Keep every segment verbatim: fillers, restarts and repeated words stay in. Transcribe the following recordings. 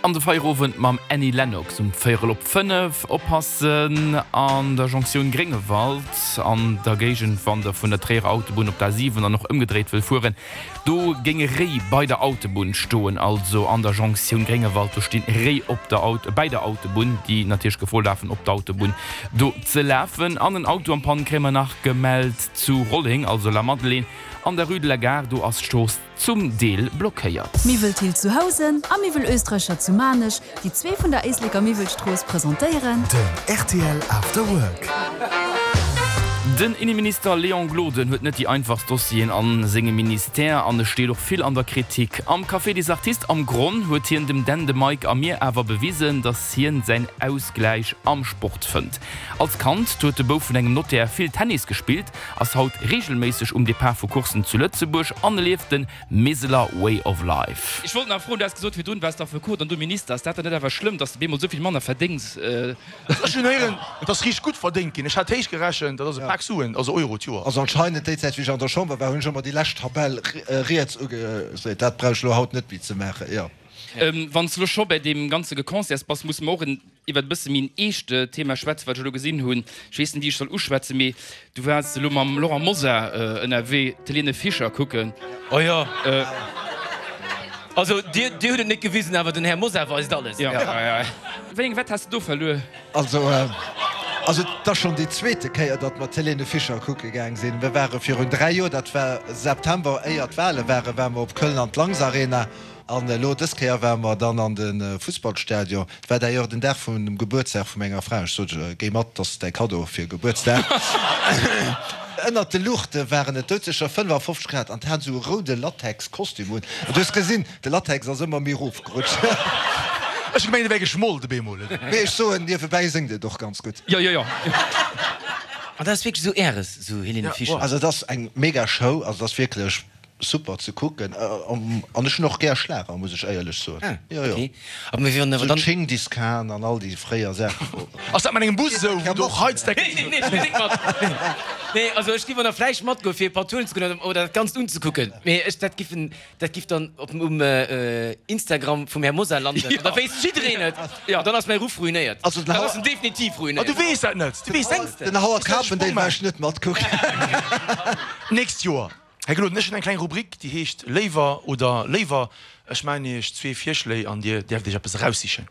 An de Feierowend mam Annie Lennox um véierel op fënnef. Oppassen an der Jonktioun Gréngewald an der Géigend, wann der vun der Tréierer Autobunn op d'A siwen an och ëmgedréit wëll fueren. Do géinge Réi bei der Autobunn stoen, also an der Jonktioun Gréngewald, do stinn Réi op der Auto, bäi der Autobunn, déi natierlech Gefor lafen op d'Autobunn do ze lafen. An en Auto am Panne kréie mer nach gemellt zu Rolleng, also Lamadelaine an der Rue de la Gare, do ass d'Strooss zum Deel blockéiert. Miwwel Thill zu Housen a Miwwel Oesträcher zu Maarnech, déi zwee vun der Éisleker Miwwelstrooss presentéieren. Den rtl After Work. Den Inneminister Léon Gloden huet net déi einfachst Dossieren a sengem Ministère an e steet och vill an der Kritik. Am Café des Artistes am Gronn huet hien dem Dan, dem Mike a mir awer bewisen, datt hien säin Ausgläich am Sport fënnt. Als Kand huet de Bouf vun engem Notaire vill Tennis gespillt, ass haut reegelméisseg um Depart vu Courssen zu Lëtzebuerg an e lieft de Miseler Way of Life. Ech wollt nach froen, du has gesot virdrun, waars d'Affekot an du Minister, ass dat dann net awer schlëmm, dass de bemol esou vill manner verdéngs? Ech hunn héieren, et ass richteg gutt verdéngt ginn. Ech hat héich gerechent, dat ass e Pak Suen, also Euro d'Joer. Also anscheinend déi Zäit wéi ech an der Chamber war, hunn ech ëmmer déi lescht Tabell riets ugeseet. Dat brauch ech elo haut net méi ze maachen, jo. Wann s de elo scho bäi deem ganze Geconcerts bass, musse mer och en iwwert e bësse méi en eescht Thema schwätzen, wat ech elo gesinn hunn. Ech weess net, wéi ech soll uschwätzen, mee du waars elo mam Laurent Mosar ënnerwee d'Helene Fischer kucken. Oh jo. Also Dir, Dir hutt et net gewisen, awer den Här Mosar weist alles. Jo, jo. Wéi eng Wett has de do verluer? Also, also et ass schonn déi zweete Kéier, datt mer d'Helene Fischer kucke gaang sinn. Mir ware virun dräi Joer, dat war September, éier d'Wale waren, ware mer op Köln an d'Lanx Arena. An elo dës Kéier ware mer dann an de Fussballstadion. Et war d'ailleurs den Dag vun dem Gebuertsdag vu menger Fra. Ech sot, Géi mat, dat ass däi Kaddo fir Gebuertsdag. Ënnert de Luuchte waren et doudsécher fënnefafofzeg Grad an hat esou e roude Latex-Kostüm un. An du hues gesinn, de Latex ass ëmmer méi erofgerutscht. Ech hu gemengt, e wär geschmolt op eemol. Mee ech soen, niewebäi séngt et och ganz gutt. Jo, jo, jo. An dat ass wierklech esou Äres, esou Helene Fischer? Also et ass eng mega Show, also et ass wierklech Super ze kucken an ech hun och gär Schlager muss ech éierlech soen. Ah Jo jo. ok. Aber mir wieren awer Sou dann. Dschingis Khan an all déi fréier Saachen. Ass dat mat engem Bus esou wou du och Heizdecke. Nee nee ech ginn nik mat. Nee also ech giff och nach vläicht matgoen fir e paar Touren ze goen oder dat ganzt unzekucken mee ech dat giff en dat giff dann op um Instagram vum Här Mosar landen an da wéisst jiddereen et an dann ass mäi Ruff ruinéiert. Also den Dann Howard. ass en definitiv Ah du ruinéiert. weess dat net, du weess dat. Den Howard Carpendale war ech net matkucken. Nächst Joer. Här Gloden, ech hunn eng kleng Rubrik, déi heescht Léiwer oder léiwer. Ech maachen Iech zwee Virschléi an Dir däerft Iech eppes eraussichen.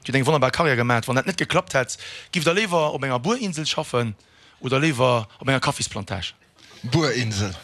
Dir hutt eng wonnerbar Karriär gemaat. Wann dat net geklappt hätt, gifft Der léiwer op enger Buerinsel schaffen oder léiwer op enger Kaffisplantage? Buerinsel.